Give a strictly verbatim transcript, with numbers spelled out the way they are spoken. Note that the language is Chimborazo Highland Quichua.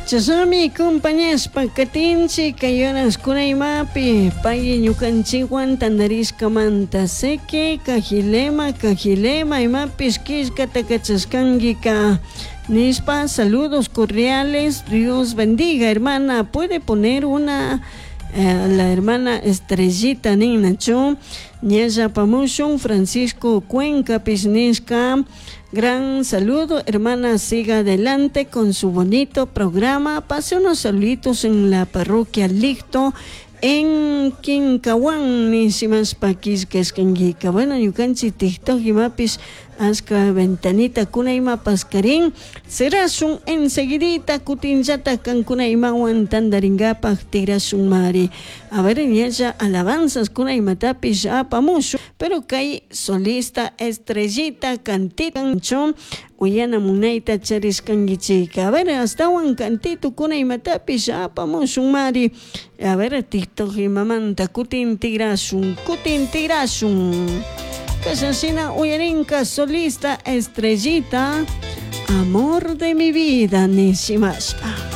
Chashnami compañashpa katinchik kay horas imapi pay ñukanchikwan tantarishkamanta seke kajilema kajilema imapish killkata kachashkankika nishpa. Saludos cordiales, Dios bendiga, hermana. Puede poner una eh, la hermana Estrellita ninachu ñalla apamushun. Francisco Cuenca nishka: gran saludo, hermana, siga adelante con su bonito programa. Pase unos saluditos en la parroquia Licto en Quincahuán nishimashpa killkashkankika. Bueno, ñukanchik TikTok imapish ashka ventanita kuna imapas karin cerashun enseguidita, kutinllata kankuna imawan tantarinkapak tigrashun mari. A ver, ñalla alabanzas kuna imatapish apamushun, pero kay solista Estrellita cantita uyana munayta charishkankichik. A ver, astawan cantito kuna imatapish apamushun mari. A ver, TikTok imamanta kutin tigrashun, kutin tigrashun. Kashashina uyarinka solista Estrellita, amor de mi vida nishimashpa.